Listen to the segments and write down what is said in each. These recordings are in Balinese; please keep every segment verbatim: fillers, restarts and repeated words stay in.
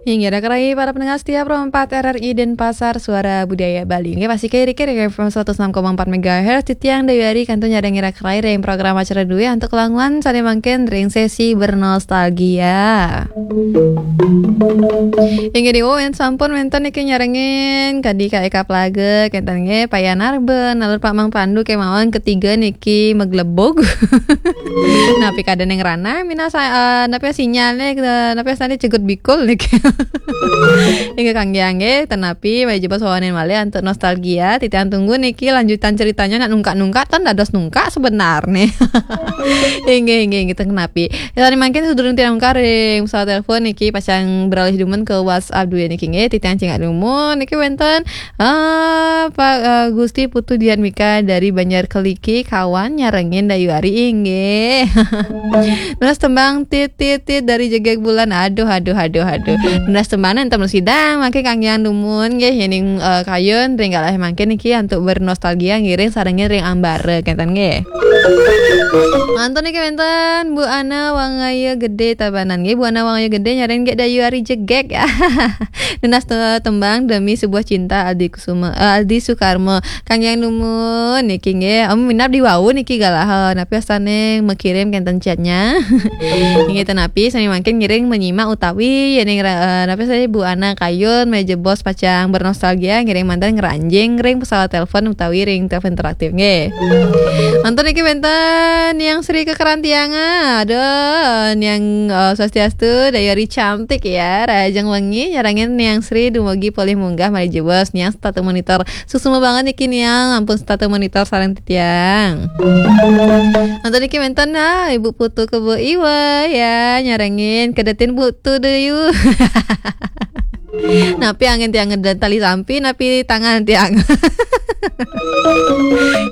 Inggih, rak rai para pendengar setia Pro empat R R I Denpasar, Suara Budaya Bali. Inggih, pasih kiri-kiri F M seratus enam koma empat megahertz, titiang Dayu Ari kantun nyarengin rak rai ring program acara duwe antuk kelanguan sane mangkin ring sesi bernostalgia. Inggih, di, oh, yen sampun wenten niki nyarengin kadi Kak Eka Plaga, kenten nggih, Pak Yan Arben, alur Pak Mang Pandu kemawon ketiga niki meglebug. Napi kada ning ranah, minasa, eh, napi sinyalnya, eh, napi asane cegut bikul niki. Inggih kang nggih, tenapi, mari jebos wawanen malih antuk nostalgia, titiang tunggu niki lanjutan ceritanya nak nungkak-nungkak, tan dados nungkak sebenarnya. Inggih, inggih, inggih, ten kenapi. Ya, tadi mangkin sadurung titiang nungkak ring pesawat telepon niki pacang beralih dumun ke WhatsApp duwe niki nggih, titiang cingak dumun niki wenten, ah, Pak, eh, Gusti Putu Dian Mika dari Banjar Keliki, kawan nyarengin Dayu Ari inggih. Nunas tembang tit tit tit dari Jegeg Bulan. Aduh, aduh, aduh, aduh. Nunas tembang enten sidang mangke kang yang dumun nggih yening, eh, kayun ring galah mangke niki antuk bernostalgia ngiring sarengin ring ambara kenten nggih. Mantun niki wenten Bu Ana Wangaya Gede Tabanan nggih. Bu Ana Wangaya Gede nyarengin nggih Dayu Ari Jegeg. Nunas te-, tembang Demi Sebuah Cinta Aldi Kusuma, eh, Aldi Sukarma. Kang yang dumun niki nggih, em, minab di wau niki galah, eh, napi astane mekirim kenten chatnya. Inggih tenapi, sami mangkin ngiring menyimak utawi yening ra-, eh, napi saya Bu Ana kayun, mari jebos pacang bernostalgia, ngiring mantan ngranjing ring pesawat telepon utawi ring telepon interaktif nggih. Mantun niki wenten Niang Sri kekerantiangan. Aduh, Niang, eh, swastiastu, Dayu Ari cantik ya, rahajeng wengi, nyarengin Niang Sri dumugi polih munggah mari jebos, Niang setata monitor. Suksma banget niki Niang, ampun setata monitor sareng titiang. Nonton niki wenten, ah, Ibu Putu Kebo Iwa ya, nyarengin kedetin Putu Dayu. Napi angin tiang ngedan tali sampi, napi tangan tiang.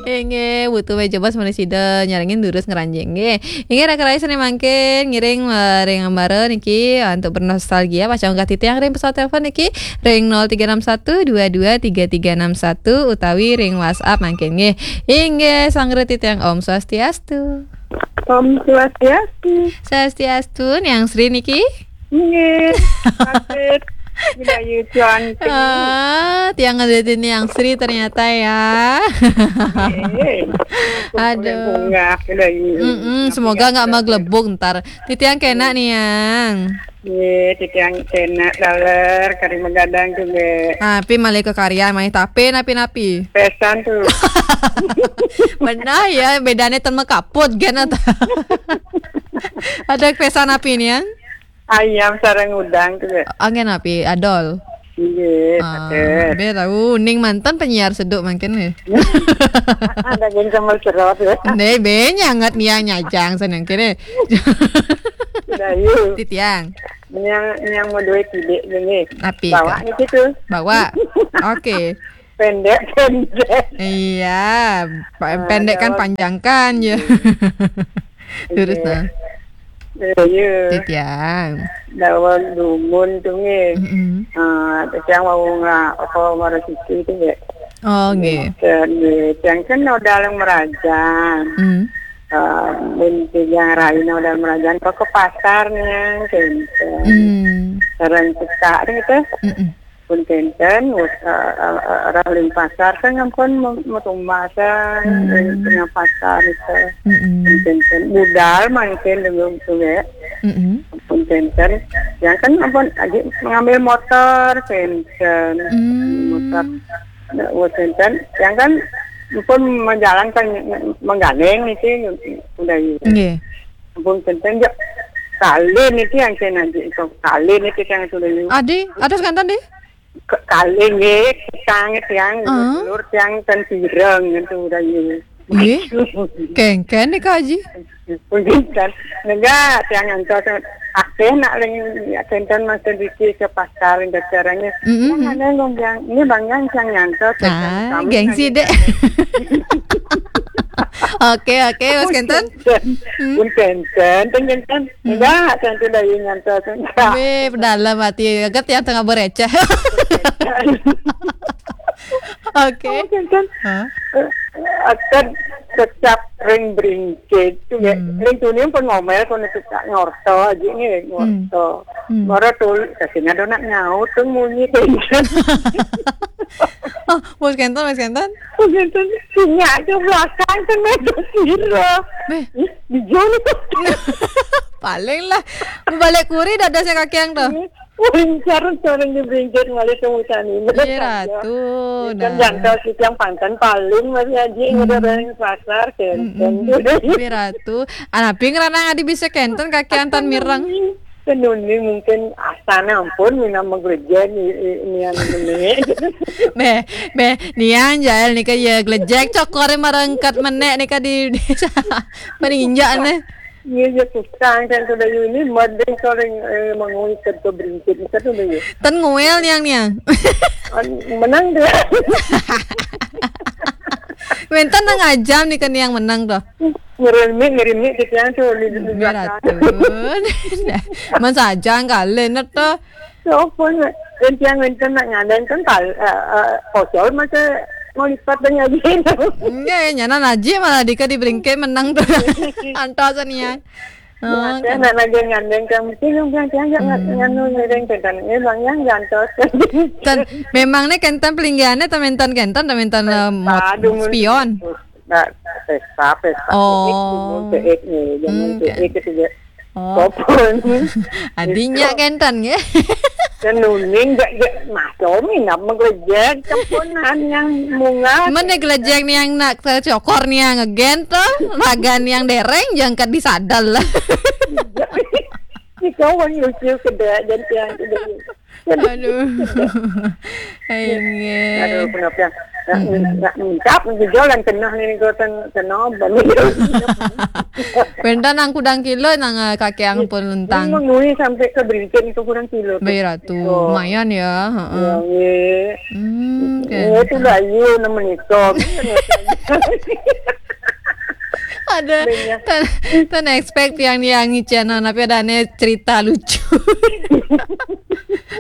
Inggih, Putu mari jebos malih sida nyarengin durus ngranjing nggih. Inggih, rak rai sane mangkin ngiring, eh, ring ambara niki, eh, antuk bernostalgia, pacang unggah titiang ring pesawat telepon niki ring nol tiga enam satu dua dua tiga tiga enam satu utawi ring WhatsApp mangkin nggih. Inggih, sanggra titiang Om Swastiastu. Om Swastiastu. Swastiastu, Niang Sri niki? Nggih, patut. Dayu cantik. Ah, tiang ngedetin Niang Sri ternyata ya. Nggih. Aduh. Bunga, Dayu. Mm-mm, semoga nggak meglebung ntar. Titiang kena Niang. Nggih, titiang kena daler, kari megadang juga. Tapi malih kekaryan, malih tapi napi-napi. Pesan tuh. Benar ya, bedanya ten mekaput, gen atau. Ada pesan napi Niang? Ayam sareng udang tuh. Anggen napi, adol. Iya, ah, betul. Be tahu, ning mantan penyiar seduk mangkin nih. Ada geng sambal serot ya. Nih, be nyangat Niang nyajang seneng kene. Dayu. Titiang. Niang, Niang mau duit tidik gini. Napi? Bawa nih gitu. Bawa. Oke. Pendek, pendek. Iya, pa-, pendek kan, panjangkan ya. Terus, iya, nah. Iya. Titiang. Dawang dumun tuh nggih. Mm-mm. Ah, titiang mau nggak apa marasiki itu ya. Oh, nggih. Dan nggih, tiang kan udah yang merajan. Mm. Ah, mun tiang raina udah merajan kok ke pasar nih, gitu. Mm. Sareng cekak gitu. Mm-mm. Pun kenten, wis, eh, eh, eh, orang ring pasar kan ampun me-, metumasan, hmm, ring tengah pasar itu. Mm-mm. Pun kenten, budal mangkin dulu itu ya. Mm-mm. Pun kenten, yang kan ampun lagi mengambil motor, kenten. Hmm. Motor, nah, wis kenten, yang kan ampun menjalankan, menggandeng itu udah gitu. Nggih. Ampun kenten, ya. Kalin itu yang saya nanti itu, kalin itu yang sudah. Adi, ada sekantan deh? Ke-, kalih nggih, tang tiang, ah, lur tiang ten pireng ngentu rayu. Nggih. Kengken nika, Aji. Punten. Enggak, tiang ngantos akeh nak ring kenten Mas Diki ke pasar ring caranya. Mm-mm. Yang ada ngomong, "Ini Bang Yang tiang ngantos." Ah, kami gengsi, nanya. Dek. Oke, oke, Mas Kenten. Punten. Hmm. Punten, ten kenten. Hmm. Enggak, tentu dari ngantos enggak. Be, dalam hati, agar tiang tengah bereceh. Oke. Kan, kan, eh, akan tetap ring bringkit. Tuh, ya. Hmm. Ring tuni pun ngomel, pun tukang ngorto aja nih, ngorto. Hmm. Mara tuh, kasihnya ada nak nyaut tuh munyi kayak gitu. Oh, bos kenten, bos kenten? Bos kenten, sinyak ke belakang kan, metu sira. Beh. Ih, di Joni tuh. Paling lah, mau balik kuri dadasnya kaki yang tuh. Paling sarung-sarung di bringkit malah temu tani. Iya, Ratu. Kan nah. Jangkau sih yang pantan paling masih aja yang udah orang pasar, kenten. Mm-mm. Iya, Ratu. Anapi ngerana adi bisa kenten kaki antan mireng. Tenuni mungkin asana ampun, mina menggereja ni, ni yang ini. Beh, beh, niang jael nika ya gelejek cokore marengkat menek nika di, di paling injak nih. Iya, iya, susah kan sudah ini mending sering, eh, mengui kerja berinjit kan sudah ya. Ten nguel niang niang. Menang deh. Wenten nang ajam nih ke niang menang tuh. Ngirim mik, ngirim mik gitu ya tuh di, di belakang. Beratun. Mas ajang kalian tuh. Sopo nak? Entiang enten nak ngandeng kan kal, eh, eh, kosol masa mau lipat dengan gitu. Enggak ya, nyana naji malah dika di bringkit menang tuh. Antos niang. Oh, kan. Nak lagi ngandeng kan mesti yang biang tiang yang nganu ngiring kan. Eh, bang yang jantos. Kan memang nih kenten pelinggiannya tementan kenten, tementan, eh, mot-, spion. Nah, pesta, pesta. Oh. Peik, peik nih, jangan peik gitu ya. Oh. Sopon. Adinya kenten ya. Kan nuning gak, gak, mas Domi nak menggelejek, cepunan yang munga. Mana gelejek nih yang nak cokor nih yang ngegen tuh, ragan yang dereng, jangkat di sadal lah. Si kawan lucu keda, dan tiang keda. Aduh. Inggih. Aduh, kenapa ya? Nak, nak mencap, nak jual dan kena ni, kau ten-, kena, balik. Benda nang kudang kilo, nang, eh, kaki yang pun lentang. Ini mengui sampai ke berinjil itu kurang kilo tu. Baik, Ratu. Oh. Lumayan ya, heeh. Ya, ya. Hmm, oke. Ya, itu dah, you nama ni, kau. Ada, tan, tan expect yang, yang channel, tapi ada nih cerita lucu.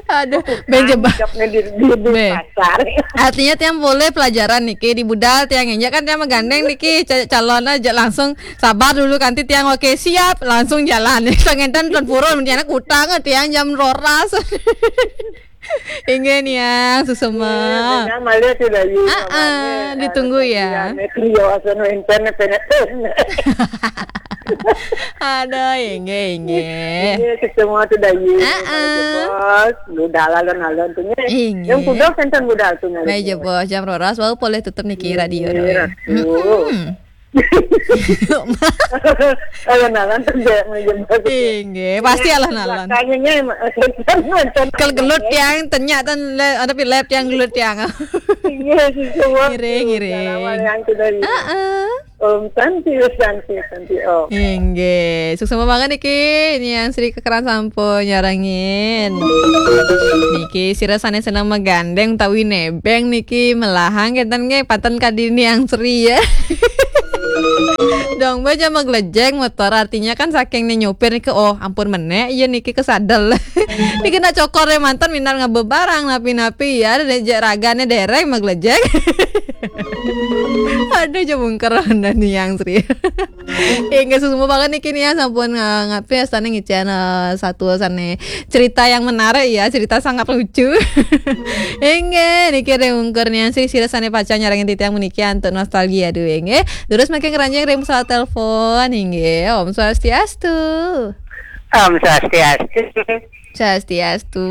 Aduh, ben jebak. Di, di, di pasar. Artinya tiang boleh pelajaran niki di budal tiang injak kan tiang menggandeng niki ca-, calon aja langsung sabar dulu kanti tiang oke siap langsung jalan. Sangentan tuan purun menjana kutang tiang jam roras. Inggih niang susuma. Iya, malah tu dah, iya, ah, ah, ditunggu ya. Iya, nek iya, asal enten, enten. Aduh, inggih, inggih. Iya, semua tu dah, iya. Ah, ah. Bos, budal alon-alon tu nih. Inggih. Yang budal kan budal tu nih. Baik je, bos. Jam roras, wau boleh tutup niki radio. Iya, tu. Mm-mm. Alon-alon tu dia, jebos. Inggih, pasti alon-alon. Kayaknya, kalau gelut yang tenyak tan le-, ada pilep yang gelut yang. Iya, semua. Ngiring, ngiring. Yang tu dah, iya. Ah, ah. Om Santi, Santi, Santi, Om. Inggih, suksma banget niki. Ini yang Sri kekeran sampun nyarengin. Niki sira sane seneng megandeng utawi nebeng niki melahang kenten nggih paten kadi ini yang Sri ya. Dong baca meglejeng motor artinya kan saking nih nyopir niki, oh ampun menek iya niki kesadel. Niki nak cokor ya mantan minat ngebebarang napi-napi ya ada dejek ragane dereng meglejeng. Aduh, jebungker Honda niang, Sri. Inggih, suksma banget niki niang sampun nga-, ngapi astane ngicen, eh, satu sane cerita yang menarik ya, cerita sangat lucu. Inggih, niki ringungkur niang Sri sira sane pacang nyarengin titiang meniki antuk nostalgia duwe inggih. Terus makin keranjang ring pesawat telepon inggih. Om Swastiastu. Om Swastiastu. Swastiastu.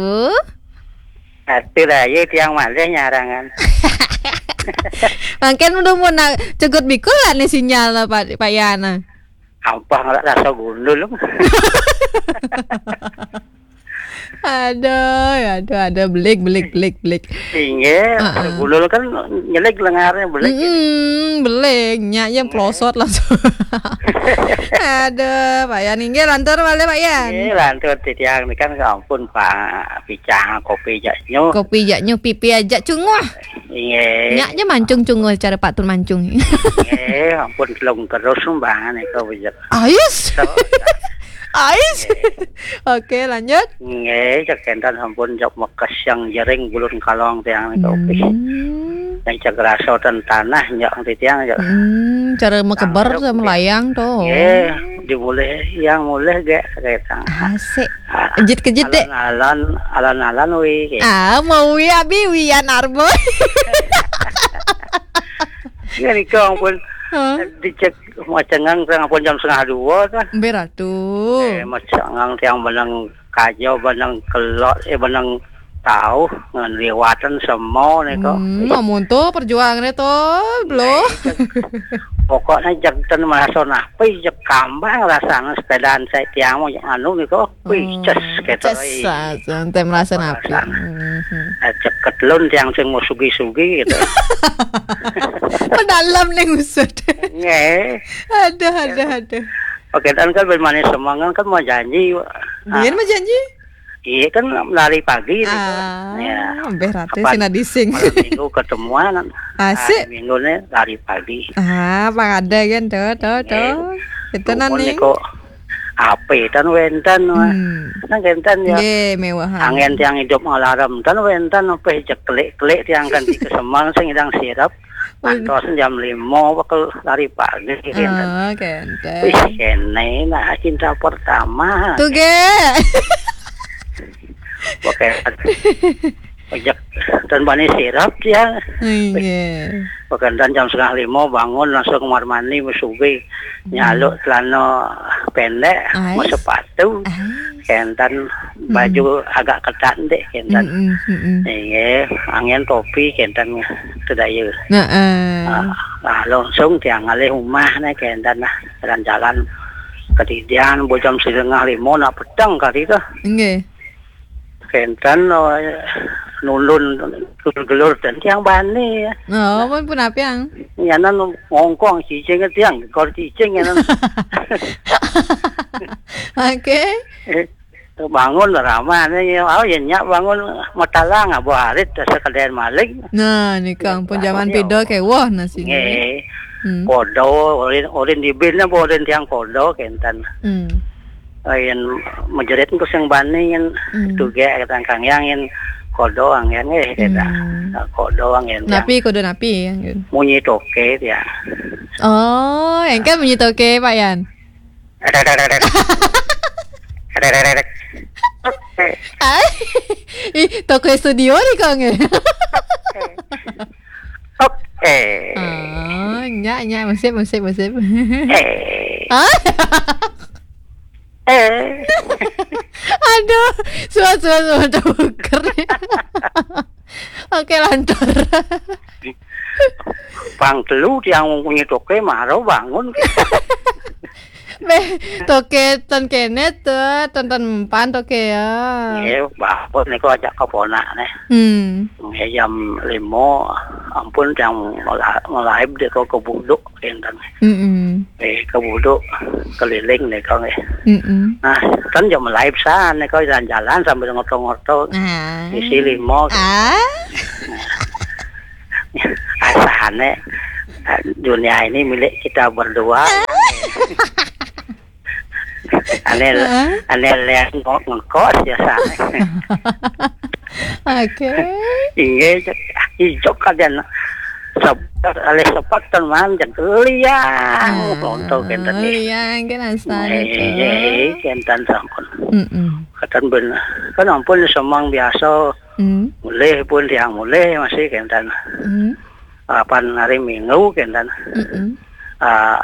Ati lah, ye tiang malih nyarangan. Mangken udah mau na-, cegut bikul lah nih sinyal lah, Pak, Pak Yana. Ampah ngelak rasa gundul. Aduh, aduh, aduh, belik, belik, belik, belik. Inggih, ah, ah. Gundul kan nyelik lengarnya belik. Mm-mm, belik, nyak yang pelosot langsung. Aduh, Pak Yan, inggih, lantur malih, Pak Yan. Inggih, lantur titiang ini kan ampun, Pak. Picang, kopi jak nyuh. Kopi jak nyuh, pipi aja cunguh. Inggih. Nyak aja mancung cunguh cara Pak Tun mancung. Inggih, ampun telung terus sumbangan itu bejek. Ais. Ais. Oke, lanjut. Inggih, cek enten ampun jok mekes yang jering bulun kalong tiang itu. Hmm. Yang cek raso ten tanah, nyok, titiang, nyok. Hmm, cara mekeber. Tangkep, sama ya. Layang tuh. Nggih, dimulih, yang mulih, gek, ketang. Asik. Ah, kejit-kejit, dek. Alon-alon, alon-alon, wi, gitu. Ah, mau wi, abi, wian arbo. Ya, nika ampun. Hah? Dicek macengang, ampun jam setengah dua, kan. Mbir atuh. Eh, macengang tiang benang kajo, benang kelot, eh, benang tauh, ngan liwatan semua, nika. Hmm, amun tuh perjuangannya tuh, belum. Nah, itu. Pokoknya jeg ten merasa napi, jeg kambang rasanya sepedaan saya tiang mau anu, nika. Wih, hmm, ces, gitu, ces, eh. Ah, santai merasa napi. Perasaan. Mhm. Eh, ceket lun tiang sing mau sugi-sugi, gitu. Pedalam nih usut. Nggih. Aduh, aduh, aduh. Oke, dan kan bermanis semangat kan mau janji. Biar ah. Mau janji? Iya, kan lari pagi, gitu. Ah, ya. Mbeh Ratu. Kapan sina dising. Malam minggu ketemuan. Asik. Hari minggu nih lari pagi. Ah, apa ada kan, tuh, tuh, nggih. Tuh. Itu. Nuhun nanti. Nika. Ape tan wenten, wah. Hmm. Nang kenten ya. Nggih, mewah. Angin tiang hidup ngalarem tan wenten, ape jeklik-klik tiang kan di kesemang sing idang sirep. Waduh. Antos jam lima bakal lari pagi, kenten. Oh, kenten. Wih, kene nah cinta pertama. Tuh, ge. Oke. Ojek dan bani sirap ya. Iya. Bukan dan jam setengah lima bangun langsung kamar mandi, mesugi, hmm, nyaluk celana pendek, ais, mau sepatu, ais, kenten baju, hmm, agak ketat dek kenten. Mm-mm, mm-mm. Iya, angin topi kenten sedaya. Nah, eh. Ah, ah, langsung tiang ngalih rumah nih kenten lah jalan-jalan kedidian, bu jam setengah lima nak peteng kali tuh. Nggih. Kenten, oh, nulun gelur-gelur dan tiang bani ya. Oh, pun, pun apa yang? Nyanan ngongkong cicing tiang, kor cicing nyanan. Oke. Eh, bangun ramah nih, oh ya nyak bangun matalang, abu arit, sekedar malik. Nah, nih Kang, pun zaman pidol kayak wah nasi. Nggih. Hmm. Kodo, ulin, ulin dibin, apa ulin tiang kodo, kenten. Hmm. Yen menjerit engko sing bani yen, hmm, tuge kata Kang Yang yen kodo angen, eh, kata. Hmm. Nah, kodo angen, napi, yang kodo napi, ya, gitu. Munyi toke, ya. Oh, yang kan munyi toke, Pak Yan. Rek, rek, rek, rek. Rek, rek, rek, rek. Oke. Ah, ih, toke studio nih, Kang, ya. Oke. Oke. Oh, nyak, nyak, musik, musik, musik. Eh. Ah? Eh. Aduh, suat, suat, suat, tuker. Oke, lantur. Pang telu tiang mempunyai toke, maro bangun. Beh, toke ten kene tuh, ten, ten empan toke ya. Iya, bapak niku ajak keponak nih. Hmm. Nggih, jam lima, ampun, yang mela-, melaib dek kok ke buduk, kenten. Mm-mm. Eh, ke buduk, keliling dek kok, nggih. Mm-mm. Nah, kan jam melaib sana, kok jalan-jalan sambil ngoto-ngoto. Ah. Isi lima, kenten. Ah. Asane, eh, dunia ini milik kita berdua. Ane, heeh, ane lihat ngok-, ngekos ya, sana. Oke. Inggih, cek, ijok kajan. Sep-, alih sepak ten man, cek liang. Ah, untuk kenten nih. Liang, kan asal itu. Eh, eh, kenten sampun. Mm-mm. Kenten ben, kan ampun semang biasa. Mm. Mulih pun tiang mulih masih kenten. Mm. Kapan hari Minggu kenten. Mm-mm. Ah,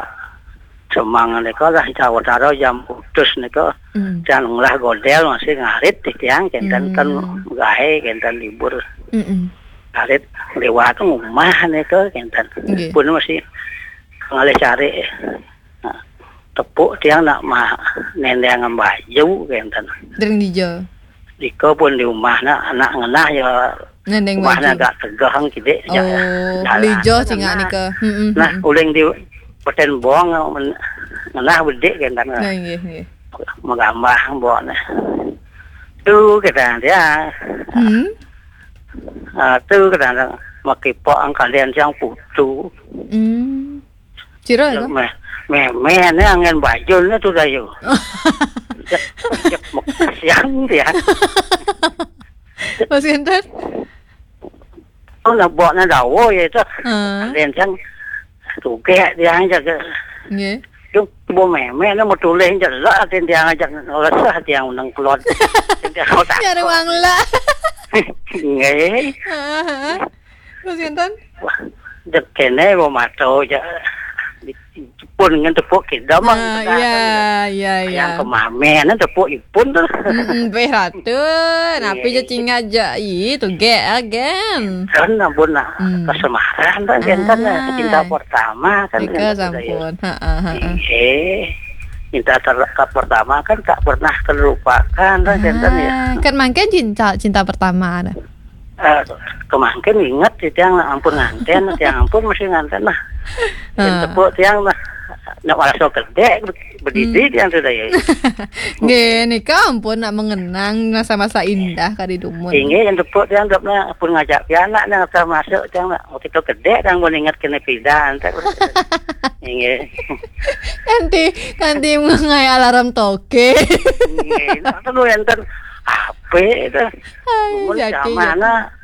semang nika lah, jawatara jam putus nika, hmm, tiang ngolah godel masih ngarit di tiang, kenten, hmm, kan gawe, kenten libur. Mm-mm. Ngarit liwat rumah nika, kenten. Nggih. Pun masih ngalih cari. Nah, tepuk tiang nak mah nendang baju, kenten. Dering dija. Dika pun di rumah nak, anak ngenah ya. Nendeng rumahnya baju. Agak tegah, kidik, ya. Oh, jalan lijo tengah. Cingak nika. Mm-mm, nah, mm-mm. Uling di peten bong, men-, ngenah bedik, kan, kan. Nah, nggih, nggih. Megambah bong, nah. Tu kita dia. Hmm. Ah, tu kita makipok angkalian siang putu. Hmm. Cira, ya, kan? Meh, meh, meh, ni angin bajul ni tu dah, yo. Cek, cek, mek-, siang dia. Mas Gendut? Nebokne dawa ya itu. Heeh. Enten tiang tugek tiang ajak. Nggih. Itu bu meme ne mau tulih jelek, enten tiang ajak ngeleseh tiang nang kelon. Enten tiang otak. Nyari wanglet. Nggih. Heeh, heeh. Terus enten? Wah, dek kene mau mato ja. Pun ngan tepuk kita mah. Ah, iya, iya, iya. Yang kemame ne tepuk ipun tuh. Mm-mm, beh ratu. Napi ja cingak ja, ih, tugek agen. Kan ampun, nah, hmm, kesemaran kan enten, nah, cinta pertama kan enten, sampun. Heeh, heeh. Iya. Cinta ter-, pertama kan tak pernah terlupakan kan enten ya. Ah, kan mangkin cinta, cinta pertama ada. Eh, kemangkin inget sih tiang, ampun nganten, tiang ampun masih nganten lah. Yang tepuk tiang lah. Nak merasa gede, bedidi tiang sudah ya. Nggih, nika ampun nak mengenang masa-masa indah kadi dumun. Inggih, yang tepuk tiang dapna pun ngajak pianak nang masuk tiang nak, waktu itu gede tiang pun inget kena pidan. Inggih. Kanti, kanti mengenai alarm toke. Inggih, nak tu enten apa itu? Ai, mun jaki, zaman jaki.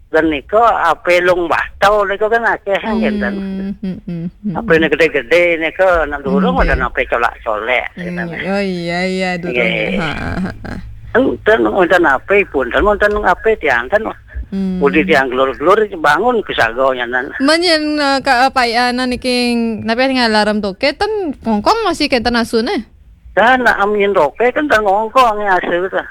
Dan nika ape lung batau nika kan akeh, hmm, ngenten. Hmm, hmm, hmm. Ape ne gede-gede nika nak durung, nggih, ada ape colak-colek, hmm, ngenten. Oh iya, iya, durung. Nggih. Ha, ha, ha. Enten, enten ape pun, enten ape tiang, enten. Hmm. Udi tiang gelur-gelur bangun ke sago nyanan. Menyen, eh, ka, apa ya, niki, napi ngalarm toke, ten kongkong masih kenten asune? Dan nak amin toke kan ten ngongkong ya asu tu.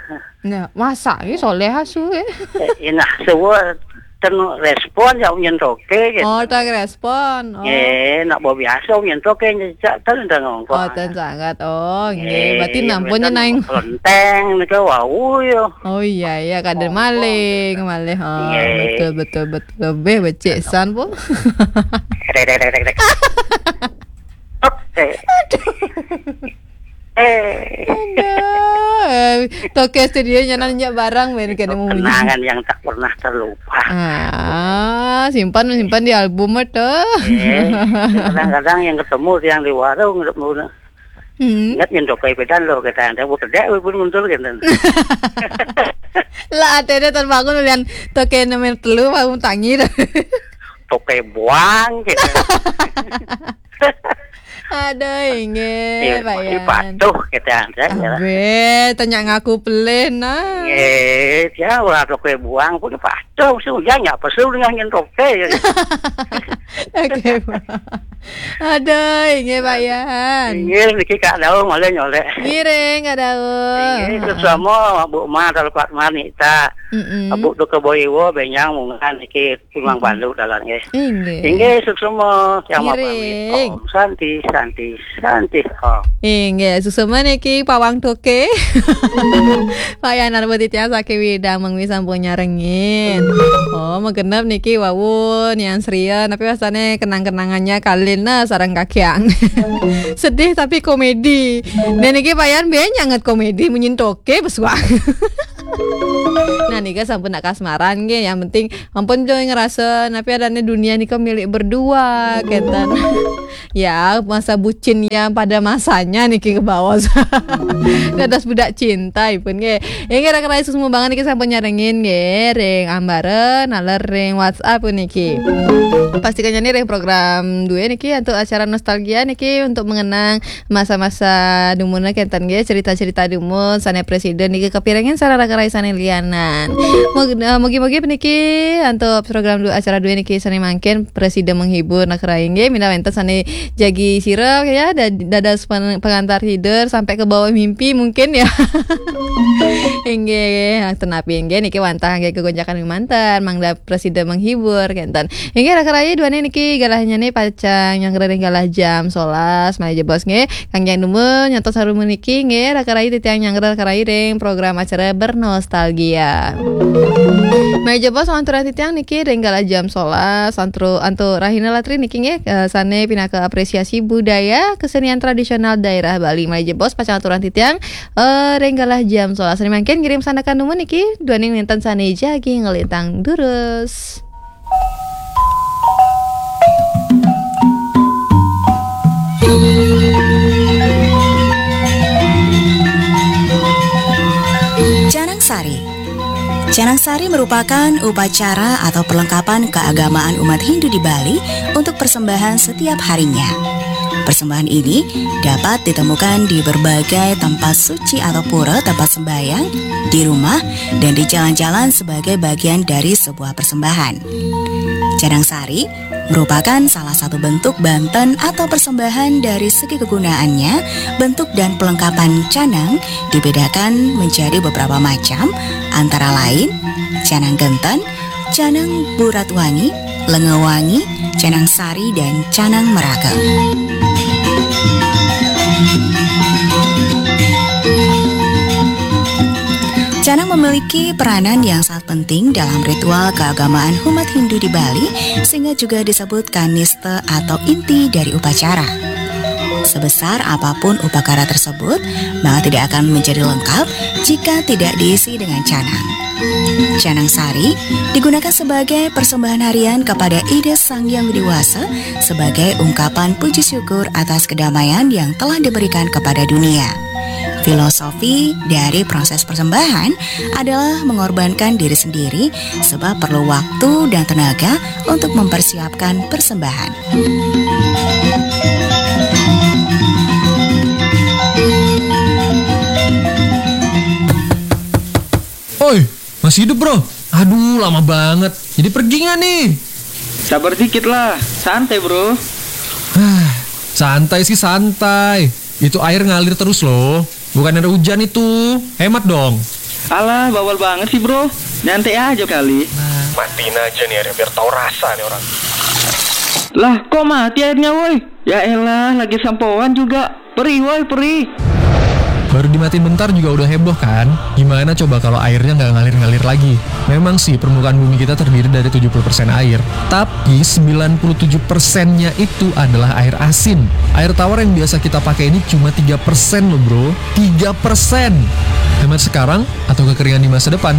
Nah, masa ni soleh asu eh. Eh, inah sewa ten respon ya nyentoke gitu. Oh, tak respon. Oh. Eh, nak bawa biasa nyentoke nyejak ten ten ngongkong. Oh, ten sangat. Oh, nggih. Eh, berarti yang nampunnya naing lenteng ni ke wau ya. Oh iya, iya, kada maling, gitu. Maling. Oh, iya, betul, betul, betul. Lebih becik san pun. Dek, dek, dek, dek, dek. Oke. Aduh. Eh. Aduh. Toke studio nyanan nyak barang ben kena munyi. Kenangan yang tak pernah terlupa. Ah, simpan, simpan di album tu. Eh, kadang-kadang yang ketemu yang di warung, ketemu. Hmm. Ingat yang toke pedan lo, kata anda, bu kedek, bu muncul, gitu. Lah, ate dia terbangun lian toke nomor telu, baru tangi dah. Toke buang, gitu. Aduh, inggih, ya, Pak masih Yan. Patuh kita, ya. Abe, tanya ngaku pelih, nah. Nggih, ya, ora toke buang pun patuh, sing ujar nyak pesu dengan nyen toke, ya. Oke, Pak. Aduh, inggih, Pak Yan. Inggih, niki Kak Daung, oleh nyolek. Ngiring, Kak Daung. Inggih, terus sama Bu Ma, Talpat Manik, tak. Mm-mm. Abu tu keboiwo, benyang, mungan, niki. Memang balu dalan nggih. Inggih. Inggih, suksma. Kiamat pamit. Ngiring. Om Santi, Santi, Santi. Om. Inggih, suksma niki pawang toke. Pak Yanar Budi tiang saking Widang mengwi sampun nyarengin. Oh, magenep niki wau nian sria, tapi rasane kenang-kenangannya kalin nah sareng kakiang. Sedih tapi komedi. Dan niki Pak Yan biyen nyanget komedi munyin toke besuang. Nah, nika sampun nak kasmaran nggih, yang penting ampun jo ngerasa napi adane dunia nika milik berdua, kenten. Ya, masa bucin yang pada masanya niki ke bawah. Dados budak cinta ipun nggih. Inggih, rakan-rakan semua banget niki sampun nyarengin nggih, ring ambare, naler ring WhatsApp niki. Pastikan ni ring program dua niki untuk acara nostalgia niki untuk mengenang masa-masa dumun kenten nggih, cerita-cerita dumun sane presiden niki kepirengan sareng rakan-rakan sane lianan. Mug-, eh, mugi-mugi puniki antuk program du-, acara dua niki sane mangkin presiden menghibur nak rai nggih, minta wenten sane jagi sira ya, da-, dadas pen-, pengantar hidur sampai ke bawah mimpi mungkin ya. Inggih, tenapi inggih niki wantah nggih kegonjakan manten, mangda presiden menghibur kenten. Inggih, rakan rai duane niki galahnya ni pacang nyanggra ring galah jam solas, malih jebos nggih. Kang Jang Dumul nyantos harum niki nggih, rakan rai titiang nyanggra rakan rai ring program acara bernostalgia. Malih jebos anturan titiang niki ring galah jam solas, antru-, antuk rahina latri niki nggih, eh, sane pinaka apresiasi budaya kesenian tradisional daerah Bali. Malih jebos pacang anturan titiang, eh, ring galah jam solas. Sane mangkin ngirim sandekan dumun niki, duaning wenten sane jagi nglintang durus. Canang Sari. Canang Sari merupakan upacara atau perlengkapan keagamaan umat Hindu di Bali untuk persembahan setiap harinya. Persembahan ini dapat ditemukan di berbagai tempat suci atau pura, tempat sembahyang, di rumah, dan di jalan-jalan sebagai bagian dari sebuah persembahan. Canang Sari merupakan salah satu bentuk banten atau persembahan. Dari segi kegunaannya, bentuk dan pelengkapan canang dibedakan menjadi beberapa macam, antara lain canang genten, canang burat wangi, lenga wangi, canang sari, dan canang meragam. Canang memiliki peranan yang sangat penting dalam ritual keagamaan umat Hindu di Bali, sehingga juga disebut kanista atau inti dari upacara. Sebesar apapun upakara tersebut, maka tidak akan menjadi lengkap jika tidak diisi dengan canang. Canang Sari digunakan sebagai persembahan harian kepada Ida Sang Hyang Widhi Wasa sebagai ungkapan puji syukur atas kedamaian yang telah diberikan kepada dunia. Filosofi dari proses persembahan adalah mengorbankan diri sendiri, sebab perlu waktu dan tenaga untuk mempersiapkan persembahan. Oi, masih hidup, Bro? Aduh, lama banget. Jadi pergi nggak nih? Sabar dikit lah, santai, Bro. Santai sih santai. Itu air ngalir terus loh. Bukan ada hujan itu. Hemat dong. Alah, bawel banget sih, Bro. Nyantai aja kali. Matiin aja nih air biar tahu rasa nih orang. Lah, kok mati airnya, woi? Ya elah, lagi sampoan juga. Perih, woi, perih. Baru dimatiin bentar juga udah heboh kan? Gimana coba kalau airnya nggak ngalir-ngalir lagi? Memang sih permukaan bumi kita terdiri dari tujuh puluh persen air, tapi sembilan puluh tujuh persennya itu adalah air asin. Air tawar yang biasa kita pakai ini cuma tiga persen loh, Bro. Tiga persen. Hemat sekarang atau kekeringan di masa depan?